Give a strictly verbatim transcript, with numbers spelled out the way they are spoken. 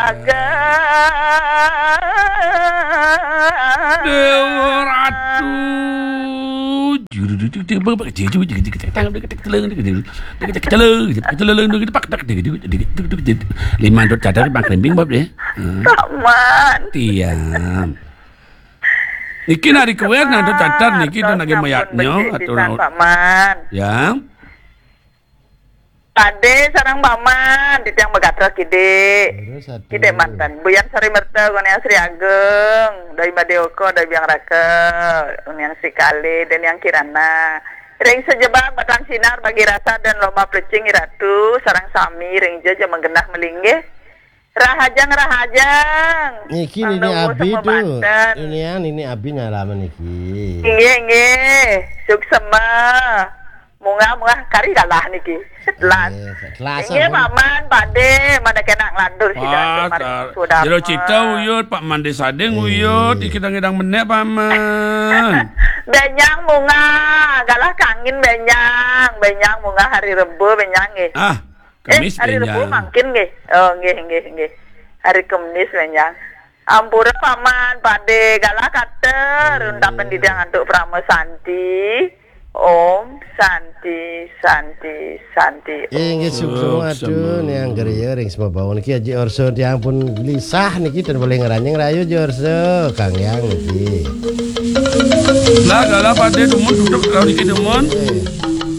Agak. Dewa Ratu. Lima dot catat bang krimbing bab deh. Paman. Tiang. Niki nari kuwer nang catat niki dan lagi mayatnya atau Paman. Ya. Pade sareng Paman, titiang begatel kidik. Kidik manten. Buyan Sari Merta, Goniang Sri Ageng, Dai Madeoka, Dai Biang Raka, Goniang Sri Kali, Deniang Kirana. Ring sejebak batan sinar bagi rasa dan lomba pelecing iratu, sareng sami ring jeje menggenah melinggih. Rahajeng, rahajeng. Niki nini abi tu. Ini yang nini abi nyalaman niki. Inggih, inggih. Suksema. Munggah, munggah kari galah niki. Telas. Inggih, Paman, Pade, mana kena ngelantur sida. Jero cita uyut, Pak Mande Sading uyut, iki dang idang menek, Paman. Benyang munggah, galah kangin benyang. Benyang munggah hari Rebo benyang nggih. Ah, Kemis hari Rebo mangkin nggih. Oh, nggih, nggih, nggih. Hari Kemis benyang. Ampura Paman, Pade, galah kater, untapan didang antuk Prama Santi. Om Santi, Santi, Santi. Inggih, suksma atu, Niang Geria, ring sema bawon. Ki Aji Orso, tiang pun gelisah niki, ten boleh ngeranjing rayu, Aji Orso. Kang Yang niki. Lah, galah Pade dumun, duduk, kalau niki dumun.